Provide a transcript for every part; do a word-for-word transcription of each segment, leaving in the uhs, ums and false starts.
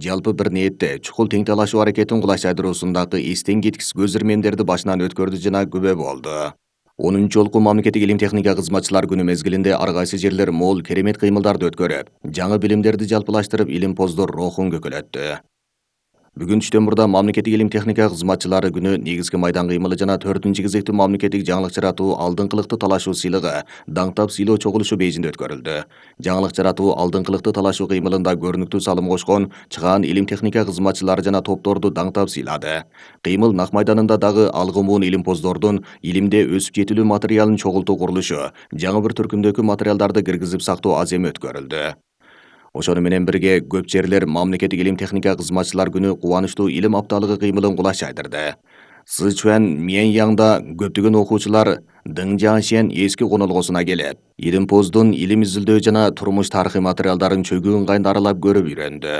Жалпы бир ниетте чукул тең талашуу аракетин кулачтандыруусундагы эстен кеткис көз ирмемдерди башынан өткөрдү жана күбө болду. онунчу жолку мамлекеттик илим техника кызматчылар күнү мезгилинде ар кайсы жерлер мол керемет кыймылдарды өткөрүп, жаңы билимдерди жалпылаштырып, илимпоздор рухун көкөлөттү. Бүгүн түштөн мурда мамлекеттик илим техника кызматчылары күнү негизги майдан кыймылы жана төртүнчү кезектүү мамлекеттик жаңылык жаратуу алдыңкылыктуу талашуу сыйлыгы даңктап сыйлоо чогулушу бейжинде өткөрүлдү. Жаңылык жаратуу алдыңкылыктуу талашуу кыймылында көрүнүктүү салым кошкон чыгаан илим техника кызматчылары жана топторду даңктап сыйлады. Кыймыл нак майданында дагы алгымуун илимпоздордун илимде өсүп жетилүү материалын чогултуу курулушу, жаңы бір түркүмдөгү материалдарды киргизип сактоо аземи өткөрүлдү. Ошону менен бирге көп жерлер мамлекеттик илим техника кызматчылар күнү кубанычтуу илим апталыгы кыймылын кулаш жайдырды. Сычуан Мьяньяңда көптөгөн окуучулар Дың Жаңшен эски конолгосуна келип, илимпоздун илим изилдөө жана турмуш тарыхый материалдарын чөгүү ыңгайында аралап көрүп үйрөндү.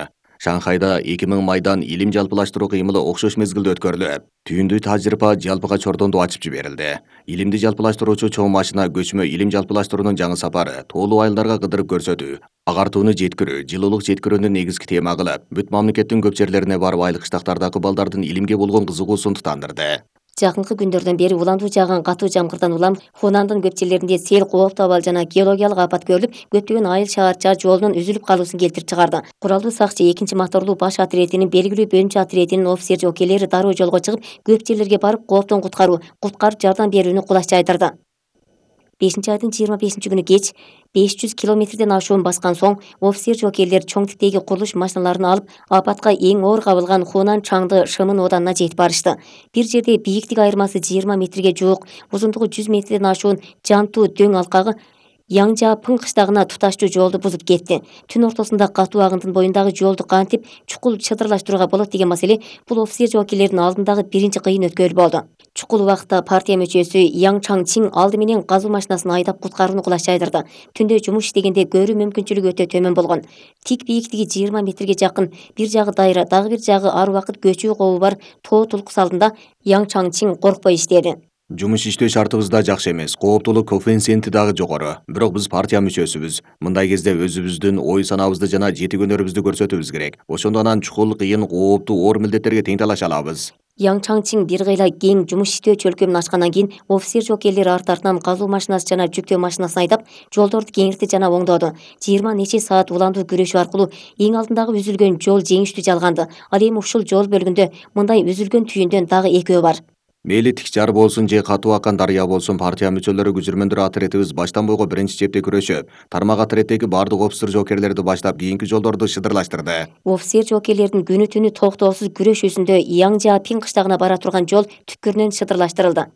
Шанхайда эки миң майдан илим жалпылаштыруу кыймылы окшош мезгилде өткөрүлүп, түйүндүү тажрыйба жалпыга чордонду ачып жиберилди. Илимди жалпылаштыруучу чоң машина көчмө илим жалпылаштыруунун жаңы сапары тоолуу айылдарга кыдырып көрсөтүү, агартууну жеткирүү, жылуулук жеткирүүнү негизги тема кылып, бүт мамлекеттин көп жерлерине барып айыл кыштактардагы балдардын илимге болгон кызыгуусун тутандырды. Жакынкы күндөрдөн бери улантуу жааган катуу жамгырдан улам Хунандын көп жерлеринде сел, кооптуу абал жана геологиялык апат көрүлүп, көптөгөн айыл шаарча жолунун үзүлүп калуусун келтирип чыгарды. Куралдуу сакчы экинчи моторлуу баш отрядынын белгилүү бөлүнчө отрядынын офицер жокейлери дароо жолго чыгып, көп жерлерге барып кооптон куткаруу, куткарып жардам берүүнү кулаш жайдырды. бешинчи айдын жыйырма бешинчи күнү кеч беш жүз километрден ашуун баскан соң офицер жокейлер чоң типтеги курулуш машиналарын алып апатка эң оор кабылган Хунан Чаңды Шымын оданына жетип барышты. Бир жерде бийиктик айырмасы жыйырма метрге жуук, узундугу жүз метрден ашуун Жанту дөң алкагы Яңжапын кыштагына туташтуу жолду бузуп кетти. Түн ортосунда катуу агындын боюндагы жолду кантип чукул чыдырлаштырууга болот деген маселе бул офицер жокейлердин алдындагы биринчи кыйын өткөл болду. Чукул убакытта партия мүчөсү Яң Чаңчин алды менен казуу машинасын айдап куткарууну кулаш жайдырды. Түндө жумуш иштегенде көрүү мүмкүнчүлүгү өтө төмөн болгон. Тик бийиктиги жыйырма метрге жакын, бир жагы дайра, дагы бир жагы ар убакыт көчүү кообу бар тоо тулкус алдында Яң Чаңчин коркпой иштеди. Жумуш иштөө шартыбыз да жакшы эмес, кооптуулук коэффициенти дагы жогору. Бирок биз партия мүчөсүбүз. Мындай кезде өзүбүздүн ой санабызды жана жети-көнөрүбүздү көрсөтүүбүз керек. Ошондо анан чукул, кыйын, кооптуу, оор милдеттерге тең талаша алабыз. Яң Чаңчин бир кыйла кең жумуш иштөө чөлкөмүн ачкандан кийин офицер жокейлери арт артынан казуу машинасы жана жүктөө машинасын айдап жолдорду кеңиртти жана оңдоду. жыйырма нече саат уландуу күрөшүү аркылуу эң алдындагы үзүлгөн жол жеңиштүү жалганды. Ал эми ушул жол бөлүгүндө мындай үзүлгөн түйүндөн дагы экөө бар. Мейли тик жар болсун же катуу акан дарыя болсун, партия мүчөлөрү көчүрмөндөр отрядыбыз баштан бойго биринчи чепте күрөшүп, тармак отряддеги бардык офицер жокейлерди баштап кийинки жолдорду шыдырлаштырды. Офицер жокейлердин күнү түнү токтоосуз күрөшүүсүндө Яңжапин кыштагына бара турган жол түкпүрүнөн шыдырлаштырылды.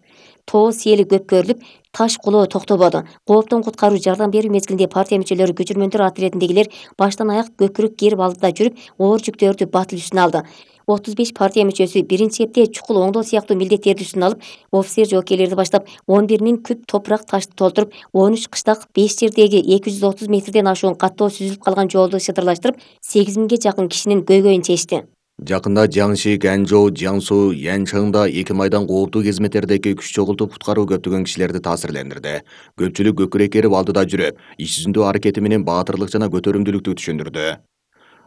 Тоо сели көп көрүлүп, таш кулоо токтободу. Кооптон куткаруу жардам берүү мезгилинде партия мүчөлөрү көчүрмөндөр отрядындагилер баштан аяк көкүрөк кээрип алдыда жүрүп, оор жүктөрдү батыл үстүнө алды. отуз беш партия мүчөсү биринчи чепте чукул оңдоо сыяктуу милдеттерди үстүнө алып, офицер жокейлерди баштап он бир миң күп топурак ташты толтуруп, он үч кыштак, беш жердеги эки жүз отуз метрден ашуун каттоо сүзүлүп калган жолду шыдырлаштырып, сегиз миңге жакын кишинин көйгөйүн чечти. Жакында Жаңши, Ганжоу, Жаңсу, Янчаңда эки майдан кооптуу кезметтердеги күч чогултуп куткаруу көптөгөн кишилерди таасирлендирди. Көпчүлүк көкүрөк керип алдыда жүрүп, иш жүзүндө аракети менен баатырлык жана көтөрүмдүүлүктү түшүндүрдү.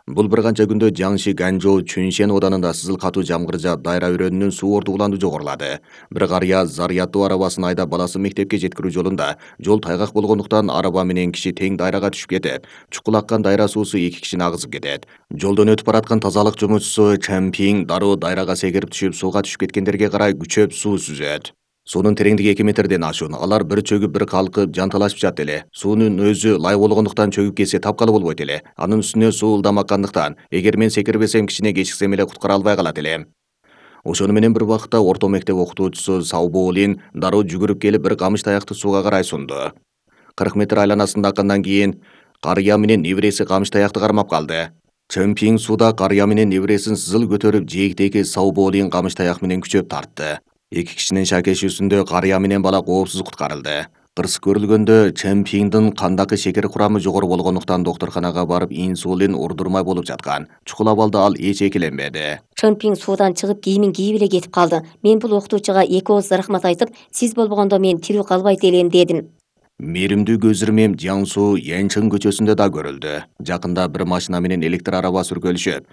Бул бир канча күндө Жаңши, Ганжоу, Чүншен оданында сызыл катуу жамгыр жаап, дайра өрөөнүнүн суу ортугуландуу жогорулады. Бир карыя заряддуу арабасын айдап баласын мектепке жеткирүү жолунда жол тайгак болгондуктан араба менен киши тең дайрага түшүп кетип, чукул аккан дайра суусу эки кишини агызып кетет. Жолдон өтүп бараткан тазалык жумушчусу Чэмпинг дароо дайрага секирип түшүп, сууга түшүп кеткендерге карай күчөп суу сүзөт. Суунун тереңдиги эки метрден ашуун. Алар бир чөгүп, бир калкып, жанталашып жатат эле. Суунун өзү лай болгондуктан чөгүп кетсе тапкалы болбойт эле. Анын үстүнө суу ылдам аккандыктан эгер мен секирбесем кичине кечиксем эле куткара албай калат элем. Ошону менен бир убакытта орто мектеп окутуучусу Сауболин дароо жүгүрүп келип бир камыш таякты сууга карай сунду. кырк метр айланасында аккандан кийин карыя менен небереси камыш таякты кармап калды. Чэмпинг сууда карыя менен небересин сызыл көтөрүп, жээктеги Сауболин камыш таяк менен күчөп тартты. Эки кишинин шакешүүсүндө карыя менен бала коопсуз куткарылды. Кырсык көрүлгөндө Чэмпингдин кандагы шекер курамы жогору болгондуктан доктурканага барып инсулин урдурмай болуп жаткан. Чукул абалда ал эч экиленбеди. Чэмпинг суудан чыгып кийимин кийип эле кетип калды. Мен бул окутуучуга эки ооз рахмат айтып, сиз болбогондо мен тирүү калбайт элем дедим. Мээримдүү көз ирмем Жаңсу, Янчың көчөсүндө да көрүлдү. Жакында бир машина менен электр араба сүркөлүшүп,